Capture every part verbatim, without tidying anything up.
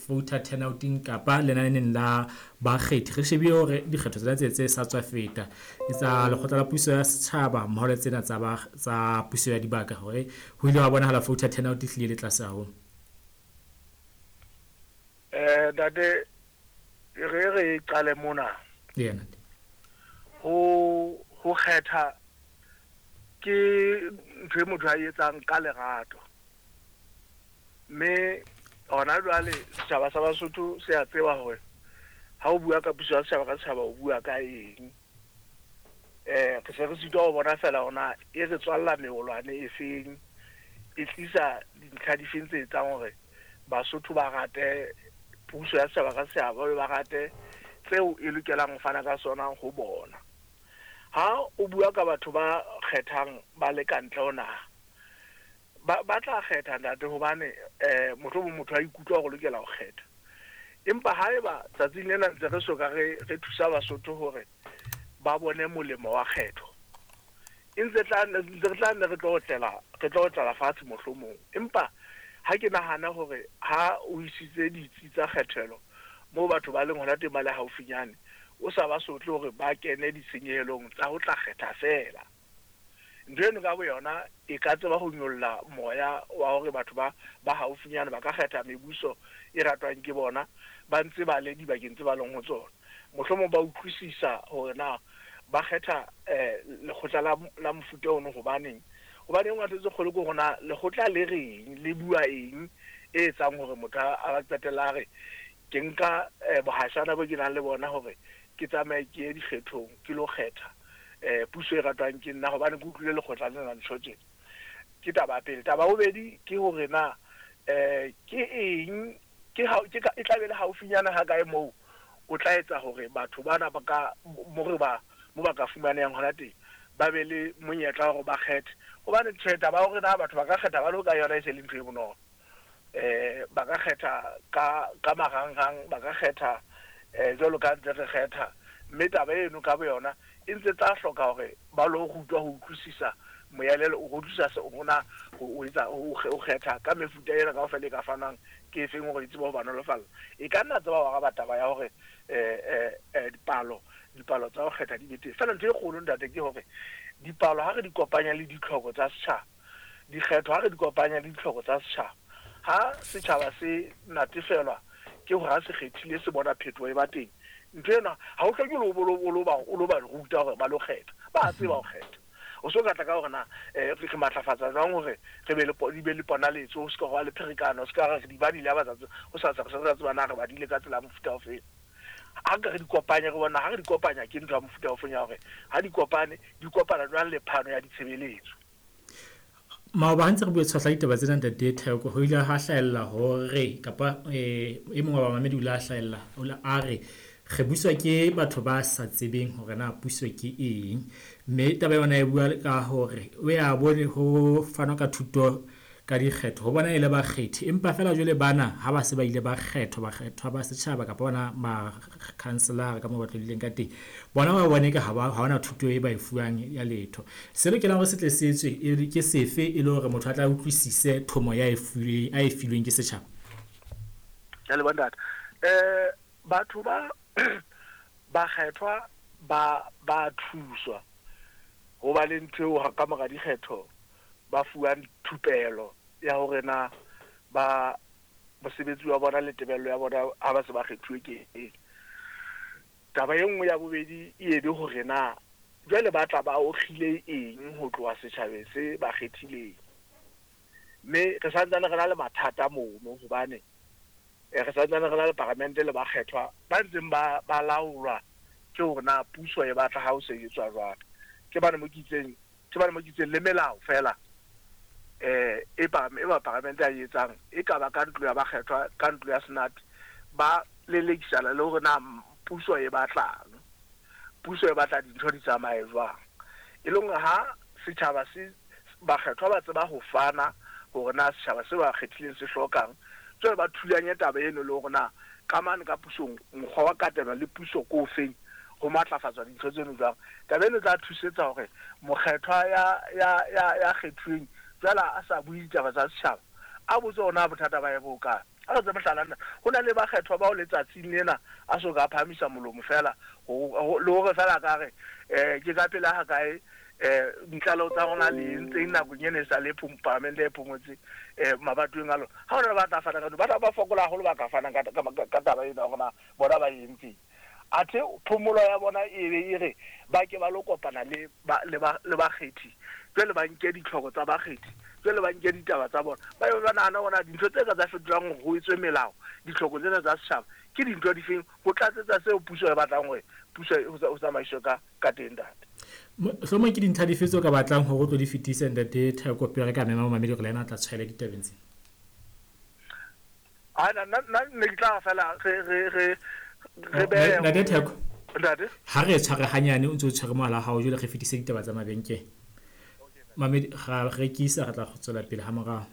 voter turnout-eng kapa lenaneng la bakgethi. Re shebile hore dikgetho tsena tse tse sa tswa feta tsa lekgotla la puso ya setjhaba mmoho le tsena tsa ba tsa puso ya dibaka, hore ho ile wa bonahala voter turnout e hlile le tlase haholo. Eh ntate, re re qale mona. Yena. Ho ho kgetha ke ntho e motho a etsang ka lerato. Mme hona jwale setjhaba sa Basotho se a tseba hore ha o bua ka puso ya setjhaba ka setjhaba o bua ka eng. Eh re se re sitwa ho bona fela hona e re tswalla meholwane e feng, e tlisa dintlha di feng tse etsang hore Basotho ba rate puso ya setjhaba ka setjhaba, ba rate tseo e lokelang ho fana ka sona ho bona. Ha o bua ka batho ba kgethang ba le ka ntle ho naha, ba ba tla kgetha ntate hobane eh mohlomong motho a ikutlwa hore lokela ho kgetha. Empa haeba tsatsing lena ntse re soka re re thusa Basotho hore ba bone molemo wa kgetho, e ntse tla ntse re tla nne re tlo otlela re tlo otlela fatshe mohlomong. Empa ha ke nahana hore ha o isitse ditsi tsa kgethelo moo batho ba leng hona teng ba le haufinyane, o sa ba sotle hore ba kene ditshenyehelong tsa ho tla kgetha feela. Ntho eno ka boyona e ka tseba ho nyolla moya wa hore batho ba ba haufinyane ba ka kgetha mebuso e ratwang ke bona ba ntse ba le dibakeng tse ba leng ho tsona. Mohlomong ba utlwisisa hore na ba kgetha eh lekgotla la la mofuta ono hobaneng. Hobane e nngwe tse kgolo ke hore na lekgotla le reng, le bua eng e etsang hore motho a qetella a re ke nka bohashana bo ke nang le bona hore ke tsamaye ke ye dikgethong ke lo kgetha eh puso e ratwang ke nna hobane ke utlwile lekgotla lena la ntho tjena. Ke taba ya pele. Taba ya bobedi ke hore na eh ke eng ke ha ke e tla be le haufinyana ha kae moo o tla etsa hore batho bana ba ka mo re ba mo ba ka fumanehang hona teng ba be le monyetla hore ba kgethe. Hobane tjhe taba ya hore na batho ba ka kgetha ba le ka yona e se le ntho e bonolo. Eh ba ka kgetha ka ka marangrang, ba ka kgetha eh jwalo ka ntse re kgetha, mme taba eno ka boyona e ntse tla hloka hore ba lo rutwa ho utlwisisa moelelo, o utlwisisa se hona ho etsa o kgetha ka mefuta ena kaofela e ka fanwang ke efeng hore e tsebe ho ba nolofalla. E ka nna tseba ho araba taba ya hore eh eh dipalo dipalo tsa ho kgetha di be teng. Feela ntho e kgolo ntate ke hore dipalo ha re di kopanya le ditlhoko tsa setjhaba, dikgetho ha re di kopanya le ditlhoko tsa setjhaba, ha setjhaba se natefelwa ke hore ha se kgethile se bona phetoho e ba teng, ntho ena ha o hloke o lo ba o lo ba ruta hore ba lo kgetha, ba tseba ho kgetha. O so ka tla ka hore na eh re matlafatsa jwang hore re be le di be le ponaletso, ho se ka hwa le pherekano, ho se ka re di badile ha ba tsatsi ho sa sa re tseba na re badile ka tsela ya mofuta ofe. Ha ka re di kopanya re bona ha re di kopanya ke ntho ya mofuta ofe ya hore ha di kopane di kopana jwang le phano ya ditshebeletso. Maoba ha ntse re bua tshwahla ditaba tsena ntate Theko, ho ile ha hlahella hore kapa e mong wa bamamedi o ile a hlahella a re re buswa ke batho ba sa tsebeng hore na puso ke eng, mme taba yona e bua ka hore o ya bone ho fanwa ka thuto ka dikgetho ho bona e le bakgethi, empa fela jwale bana ha ba se ba ile ba kgethwa bakgethwa ba setjhaba kapa bona ma-councillor ka moo ba tlodileng ka teng, bona ba bone ka ha ba ha hona thuto e ba e fuwang ya letho. Se lokelang hore se tle se etswe e ke sefe e le hore motho a tla utlwisise thomo ya e filweng a e filweng ke setjhaba? Ke a leboha ntate. Eh batho ba bakgethwa ba ba thuswa ho ba le ntho eo ka mora dikgetho ba fuwang thupelo ya hore na ba mosebetsi wa bona le tebello ya bona ha ba se ba kgethuwe ke eng. Taba e nngwe ya bobedi e be hore na jwale ba tla ba okgile eng ho tloha setjhabeng se ba kgethileng. Mme re santsane re na le mathata mono hobane re santsane re na le paramente le bakgethwa ba ntseng ba ba laolwa ke hore na puso e batla ha o sebetswa jwang. Ke bane mo ke itseng ke bane mo ke itseng le melao fela eh e ba e ba paramente a etsang e ka ba ka ntlo ya bakgethwa ka ntlo ya Senate ba lelekisana le hore na puso e batlang, puso e batla dintho di tsamaye jwang. E leng ha setjhaba se bakgethwa ba tseba ho fana hore na setjhaba se ba kgethileng se hlokang, jwale ba thulanye taba eno le hore na ka mane ka pusong mokgwa wa katelo le puso ko ofeng ho matlafatswa dintho tseno jwang. Taba eno e tla thusetsa hore mokgethwa ya ya ya ya kgethuweng jwale a sa bue ditaba tsa setjhaba, a botse hore na bothata ba e bo kae. A re tse mohlala, nna ho na le bakgethwa bao letsatsing lena a so ka phahamisa molomo fela le hore fela ka re um ke ka pela ha kae um ditlaleho tsa rona le entseng nakong ena e sa le palamente e phomotse um mabatoweng a lona. Ha hona le ba tla fana ka ba tla ba fokola haholo ba ka fanang ka taba ena hore na bona ba entseng. Athe phomolo ya bona e be e re ba ke ba lo kopana le le bakgethi, jwale ba nke ditlhoko tsa bakgethi, jwale ba nke ditaba tsa bona, ba be ba nahana hore na dintho tse ka tsa fetolang hore ho etswe melao ditlhoko tsena tsa setjhaba ke dintho difeng ho tlatsetsa seo puso e batlang hore puso ho tsamaiswe ka ka teng ntate. Mohlomong ke dintlha dife tseo ka batlang hore o tlo di fetise ntate Theko pele re ka mema momamedi hore le yena a tla tshwaela ditabeng tsena? Ha nna nna ne ke tla fela re re re re behe Ntate Theko, ntate ha re tshware hanyane o ntse o tshwere mohala wa hao jwale re fetise ditaba tsa mabenkele. Mamedi ra rekisa re tla tswela pele ha morao.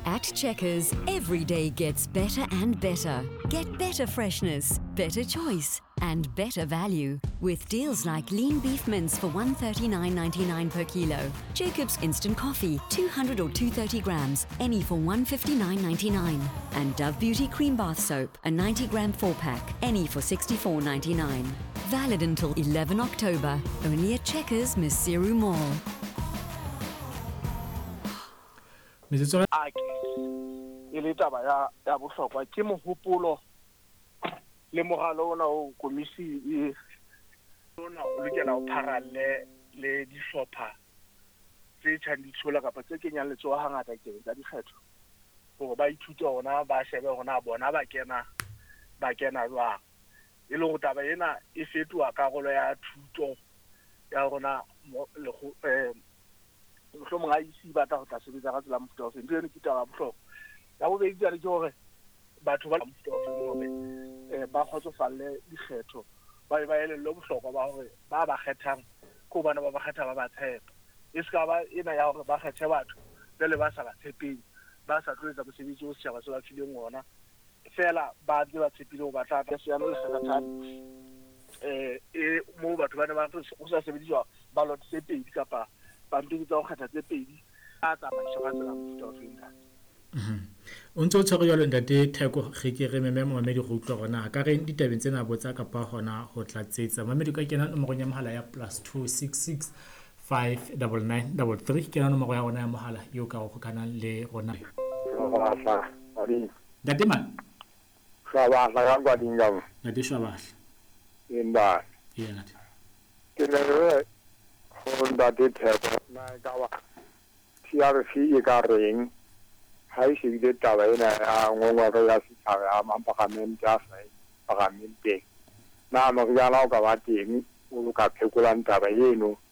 At Checkers, every day gets better and better. Get better freshness, better choice, and better value with deals like lean beef mince for one thirty-nine ninety-nine per kilo, Jacob's instant coffee, two hundred or two thirty grams, any for one fifty-nine ninety-nine, and Dove Beauty cream bath soap, a ninety gram four pack, any for sixty-four ninety-nine. Valid until eleven October, only at Checkers Maseru Mall. Metsotso a ke e le taba ya ya bohlokwa ke mohopolo le moralo ona o komisi e ona o lokela ho pharalle le dihlopha tse tjhang ditshola kapa tse kenyang letsoho hangata ditabeng tsa dikgetho hore ba ithute hona ba shebe hore na bona ba kena ba kena jwang, e le hore taba ena e fetoha karolo ya thuto ya rona eh mohlomong I E C ba tla ho tla sebetsa ka tsela mofuta ofe. Ntho eno ke taba ya bohlokwa. Ya bobedi jwale ke hore batho ba mofuta ofe hore eh ba kgotsofalle dikgetho, ba be ba elellwe bohlokwa ba hore ba ba kgethang ke hobane ba ba kgetha ba ba tshepa, e se ka ba ena ya hore ba kgethe batho jwale ba sa ba tshepeng, ba sa tlo etsa mosebetsi o setjhaba se ba fileng ona fela ba ntse ba tshepile hore ba tla tla seano le sekgathane eh e moo batho ba ne ba ho sa sebediswa ballot tse pedi kapa pampiri tsa ho kgetha tse pedi a tsamaiswa ka tsela mofuta ofe ntate. O ntse o tshwere jwalo ntate Theko, re ke re meme momamedi go utlwa hore na ka reng ditabeng tsena botsa kapa hona ho tlatsetsa. Momamedi ka kena nomorong ya mohala ya plus two six six five double nine double three, kena nomoro ya rona ya mohala eo ka ho hokanang le rona. Ntate man Shwabahla ka Kwadingam. Ntate Shwabahla. Emba. Ee ntate. Ke ne re ho ntate Theko na e ka ba T R C e ka reng ha e shebile taba ena ya ngongoro ya setjhaba ya mapalamente a sa palamenteng, na moriana o ka ba teng o ka phekolang taba eno